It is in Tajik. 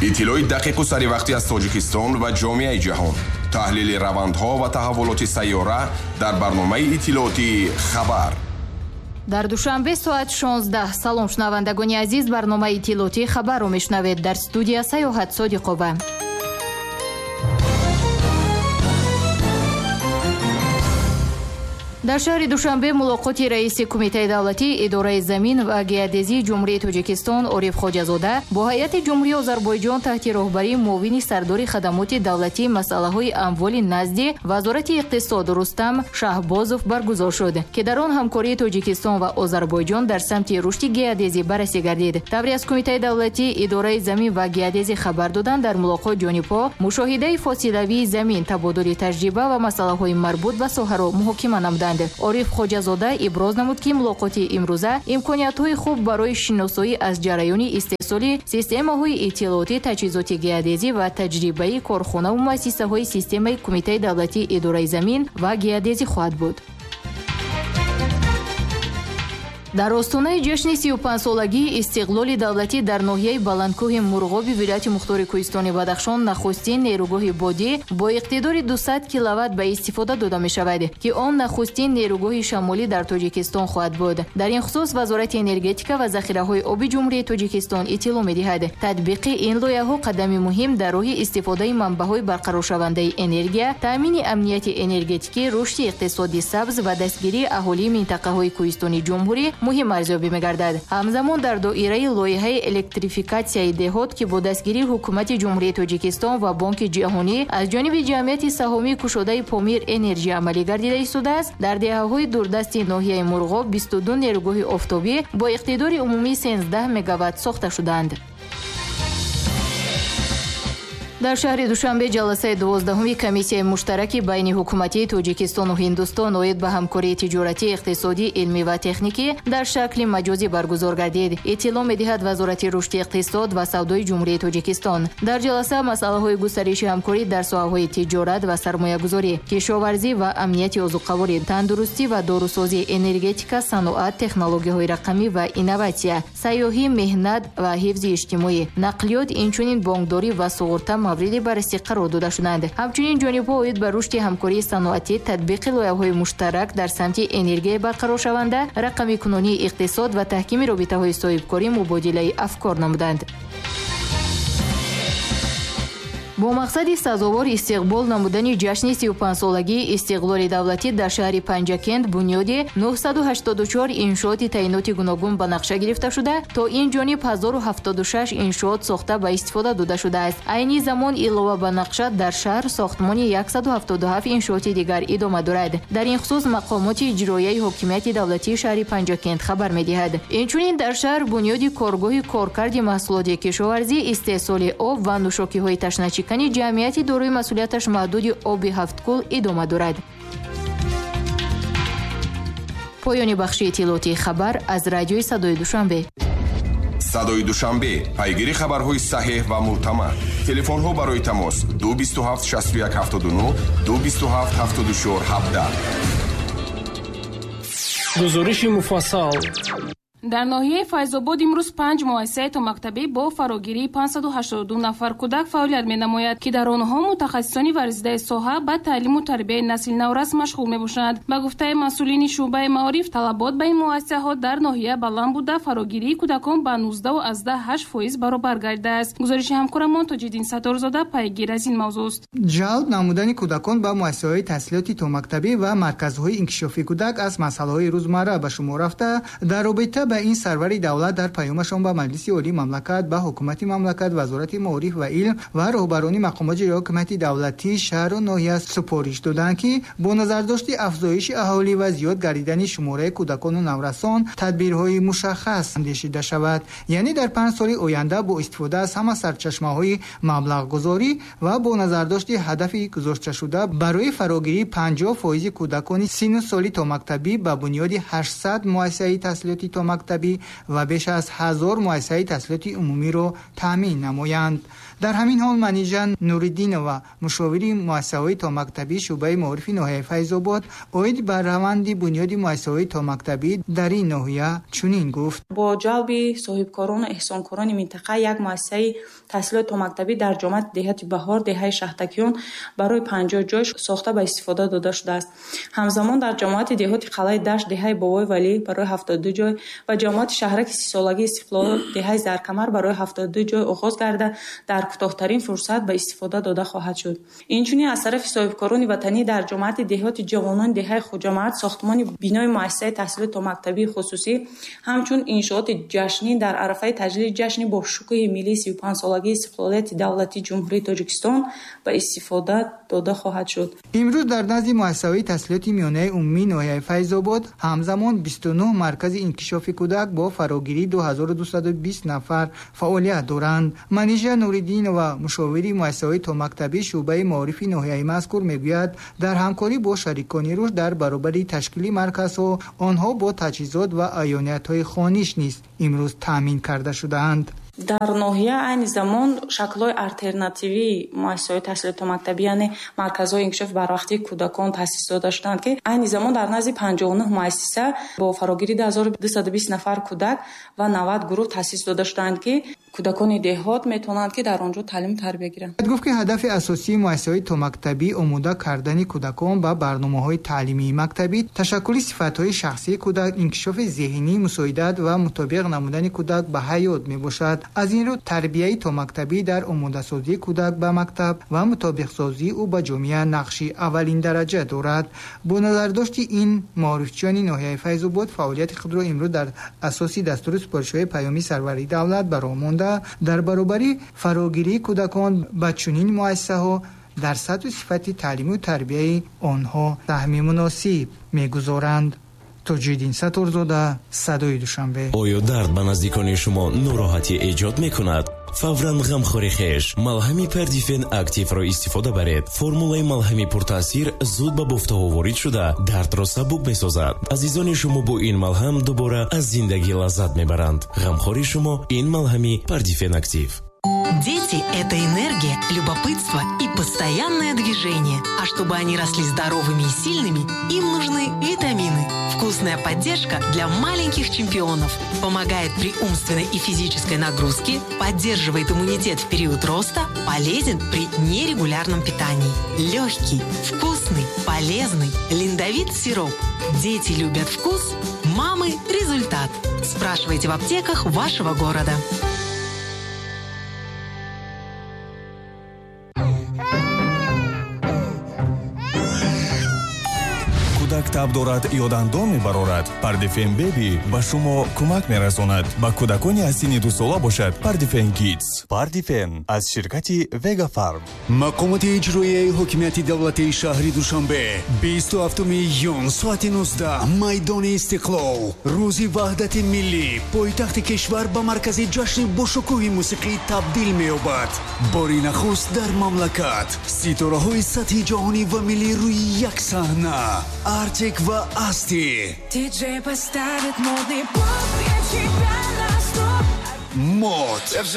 Иттилои дақиқу саривақтӣ аз Тоҷикистон ва ҷомеаи ҷаҳон, таҳлили равандҳо ва таҳаввулоти сайёра дар барномаи иттилоотии «Хабар». Дар Душанбе соат 16. Салом, шунавандагони азиз, барномаи иттилоотии «Хабарро» мешунавед. Дар студия Саёҳат Содиқова. Дар шаҳри Душанбе мулоқоти раиси Кумитаи давлатии идораи замин ва геодезии Ҷумҳурии Тоҷикистон Ориф Хоҷазода бо ҳайати Ҷумҳурии Озарбойҷон таҳти роҳбарии муовини сардори хадамоти давлатии масъалаҳои амволи назди Вазорати иқтисод Рустам Шаҳбозов баргузор шуд, ки дар он ҳамкории Тоҷикистон ва Озарбойҷон дар самти рушди геодезӣ баррасӣ гардид. Тавре аз Кумитаи давлатии идораи замин ва геодезӣ хабар доданд, дар мулоқот ҷонибҳо мушоҳидаи фосилавии замин, табодули таҷриба ва масъалаҳои марбут ба соҳаро муҳокима намуданд. Ориф Хоҷазода иброз намуд, ки мулоқоти имрӯза имкониятҳои хуб барои шиносоӣ аз ҷараёни истеҳсоли системаҳои иттилоотӣ, таҷҳизоти геодезӣ ва таҷрибаи корхонаву муассисаҳои системаи Кумитаи давлатии идораи замин ва геодезӣ хоҳад буд. Дар остонаи ҷашни 35-солагии истиқлоли давлатӣ дар ноҳияи Баландкӯҳи Мурғоби вилояти Мухтори Кӯҳистони Бадахшон нахустин нерӯгоҳи бодӣ бо иқтидори 200 киловатт ба истифода дода мешавад, ки он нахустин нерӯгоҳи шамолӣ дар Тоҷикистон хоҳад буд. Дар ин хусус Вазорати энергетика ва захираҳои оби Ҷумҳурии Тоҷикистон иттилоъ медиҳад. Татбиқи ин лоиҳаҳо қадами муҳим дар роҳи истифодаи манбаъҳои барқароршавандаи энергия, таъмини амнияти энергетикӣ, рушди иқтисоди сабз ва дастгирии аҳолии минтақаҳои кӯҳистони ҷумҳурӣ муҳим арзёбӣ мегардад. Ҳамзамон дар доираи лоиҳаи электрификатсияи деҳот, ки бо дастгирии ҳукумати Ҷумҳурии Тоҷикистон ва Бонки ҷаҳонӣ аз ҷониби ҷамъияти саҳомии кушодаи Помир Энерҷи амалӣ гардида истодааст, дар деҳаҳои дурдасти ноҳияи Мурғоб 22 нерӯгоҳи офтобӣ бо иқтидори умумии 13 мегаватт сохта шуданд. Дар шаҳри Душанбе ҷаласаи 12-уми комиссияи муштараки байни ҳукуматии Тоҷикистону Ҳиндустон оид ба ҳамкории тиҷоратӣ, иқтисодӣ, илмӣ ва техникӣ дар шакли маҷозӣ баргузор гардид. Иттилоъ медиҳад Вазорати рушди иқтисод ва савдои Ҷумҳурии Тоҷикистон. Дар ҷаласа масъалаҳои густариши ҳамкорӣ дар соҳаҳои тиҷорат ва сармоягузорӣ, кишоварзӣ ва амнияти озуқаворӣ, тандурустӣ ва дорусозӣ, энергетика, саноат, технологияҳои рақамӣ ва инноватсия, сайёҳӣ, меҳнат ва ҳифзи иҷтимоӣ, нақлиёт, инчунин бонкдорӣ ва суғурта мавриди баррасӣ қарор дода шуданд. Ҳамчунин ҷонибҳо оид ба рушди ҳамкории саноатӣ, татбиқи лоиҳаҳои муштарак дар самти энергияи барқароршаванда, рақамикунонии иқтисод ва таҳкими робитаҳои соҳибкорӣ мубодилаи афкор намуданд. Бо мақсади сазовор истиқбол намудани ҷашни 35-солагии истиқлоли давлатӣ дар шаҳри Панҷакент бунёди 984 иншооти таъиноти гуногун ба нақша гирифта шуда, то ин ҷониб 1076 иншоот сохта ба истифода дода шудааст. Айни замон илова ба нақша дар шаҳр сохтмони 177 иншооти дигар идома дорад. Дар ин хусус мақомоти иҷроияи ҳокимияти давлатии шаҳри Панҷакент хабар медиҳад. Инчунин дар шаҳр бунёди коргоҳи коркарди маҳсулоти кишоварзӣ, истеҳсоли об ва нӯшокиҳои ташначикани ҷамъияти дорои масъулияташ маҳдуди оби ҳафткул идома дорад. Поёни бахши иттилоотии «Хабар» аз радиои Садои Душанбе. Садои Душанбе, пайгири хабарҳои саҳеҳ ва мӯътамад. Телефонҳо барои тамос 227 61 79, 227 74 17. Гузориши муфассал. Дар ноҳияи Файзобод имрӯз панҷ муассисаи томактабӣ бо фарогирии 582 нафар кӯдак фаъолият менамояд, ки дар онҳо мутахассисони варзидаи соҳа ба таълиму тарбияи насли наврас машғул мебошанд. Ба гуфтаи масъулини шӯъбаи маориф, талабот ба ин муассисаҳо дар ноҳия баланд буда, фарогирии кӯдакон ба 19,8% баробар гардидааст. Гузориши ҳамкорамон Тоҷиддин Сатторзода пайгир аз ин мавзӯст. Ҷалб намудани кӯдакон ба муассисаҳои таҳсилоти томактабӣ ва марказҳои инкишофи кӯдак аз масъалаҳои рӯзмарра ба шумор рафта, дар робита ба ин сарвари давлат дар паёмашон ба Маҷлиси Олии мамлакат, ба ҳукумати мамлакат, Вазорати маориф ва илм ва роҳбарони мақомоти ҳокимияти давлатии шаҳру ноҳия супориш доданд, ки бо назардошти афзоиши аҳолӣ ва зиёд гардидани шумораи кӯдакону наврасон тадбирҳои мушаххас андешида шавад. Яъне дар 5 соли оянда бо истифода аз ҳама сарчашмаҳои маблағгузорӣ ва бо назардошти ҳадафи гузошташуда барои фарогирии 50% кӯдакони синну соли томактабӣ ба бунёди 800 муассисаи таҳсилоти томактабӣ томактабӣ ва беш аз 1000 муассисаи таҳсилоти умумиро таъмин намоянд. Дар ҳамин ҳол Манижа Нуриддинова, мушовири муассисаҳои томактабӣ шӯъбаи маорифи ноҳияи Файзобод, оид ба раванди бунёди муассисаҳои томактабӣ дар ин ноҳия чунин гуфт: бо ҷалби соҳибкорону эҳсонкорони минтақа як муассисаи таҳсилоти томактабӣ дар ҷомаати деҳати Баҳор, деҳаи Шаҳтакиён барои 50 ҷой сохта ба истифода дода шудааст. Ҳамзамон дар ҷамоати деҳоти Қалъаи Дашт, деҳаи Бобои Валӣ барои 72 ҷой ва ҷамоати шаҳраки 30-солагии Истиқлол, деҳаи Заркамар барои 72 ҷой оғоз гарда дар кӯтоҳтарин фурсат ба истифода дода хоҳад шуд. Инчунин аз тарафи соҳибкорони ватанӣ дар ҷамоати деҳоти ҷавонони деҳаи Хуҷамаат сохтмони бинои муассисаи таҳсилоти томактабии хусусӣ ҳамчун иншооти ҷашнӣ дар арафаи таҷлили ҷашни бошукӯҳи миллии 35-солагии истиқлолияти давлатии Ҷумҳурии Тоҷикистон ба истифода дода хоҳад шуд. Имрӯз дар назди муассисаҳои таҳсилоти миёнаи умумии ноҳияи Файзобод ҳамзамон 29 маркази инкишофи кӯдак бо фарогирии 2220 нафар фаъолият доранд. Манижа Нуриддинова, мушовири муассисаҳои томактабӣ шӯъбаи маорифи ноҳияи мазкур, мегӯяд дар ҳамкорӣ бо шарикони рушд дар баробари ташкили марказҳо онҳо бо таҷҳизот ва аёниятҳои хониш низ имрӯз таъмин карда шудаанд. Дар ноҳия айни замон шаклҳои алтернативии муассисаҳои таҳсилоти томактабӣ, яъне марказҳои инкишофи барвақтии кӯдакон таъсис дода шуданд, ки айни замон дар назди 59 муассиса бо фарогирии 2220 нафар кӯдак ва 90 гурӯҳ таъсис дода шуданд, ки кӯдакони деҳот метавонанд, ки дар он ҷо таълиму тарбия гиранд. Гуфт, ки ҳадафи асосии муассисаҳои томактабӣ омода кардани кӯдакон ба барномаҳои таълимии мактабӣ, ташаккули сифатҳои шахсии кӯдак, инкишофи зеҳнӣ, мусоидат ва мутобиқ намудани кӯдак ба ҳаёт мебошад. Аз ин рӯ тарбияи томактабӣ дар омодасозии кӯдак ба мактаб ва мутобиқсозии ӯ ба ҷомеа нақши аввалин дараҷа дорад. Бо назардошти ин маорифчиёни ноҳияи Файзобод фаъолияти худро имрӯз дар асоси дастуру супоришҳои паёми сарвари давлат ба роҳ монда, дар баробари фарогирии кӯдакон ба чунин муассисаҳо дар сатҳу сифати таълиму тарбияи онҳо саҳми муносиб мегузоранд. Тоҷиддин Сатторзода, Садои Душанбе. Оё дард ба наздикони шумо нороҳатӣ эҷод мекунад? Фавран ғамхори хеш малҳами Пердифен Активро истифода баред. Формулаи малҳами пуртаъсир зуд ба бофтаҳо ворид шуда дардро сабук месозад. Азизони шумо бо ин малҳам дубора аз зиндагӣ лаззат мебаранд. Ғамхори шумо ин малҳами Пердифен Актив. Дети – это энергия, любопытство и постоянное движение. А чтобы они росли здоровыми и сильными, им нужны витамины. Вкусная поддержка для маленьких чемпионов. Помогает при умственной и физической нагрузке, поддерживает иммунитет в период роста, полезен при нерегулярном питании. Легкий, вкусный, полезный. Линдовит сироп. Дети любят вкус, мамы – результат. Спрашивайте в аптеках вашего города. Кӯдак таб дорад ё дандон мебарорад, Пардифен Беби ба шумо кӯмак мерасонад. Ба кӯдакони аз синни 2 сола бошад Пардифен Кидс. Пардифен аз ширкати Вегафарм. Мақомоти иҷроияи ҳокимияти давлатии шаҳри Душанбе, 27 июн, соати 19, майдони Истиқлол. Рӯзи ваҳдати миллӣ, пойтахти кишвар ба маркази ҷашни бошукӯҳи мусиқӣ табдил меёбад. Бори нахуст дар мамлакат ситораҳои сатҳи ҷаҳонӣ ва миллӣ рӯи як саҳна. Артик ва Асти. Диджей поставит модный поп, я тебя на стоп. Мод.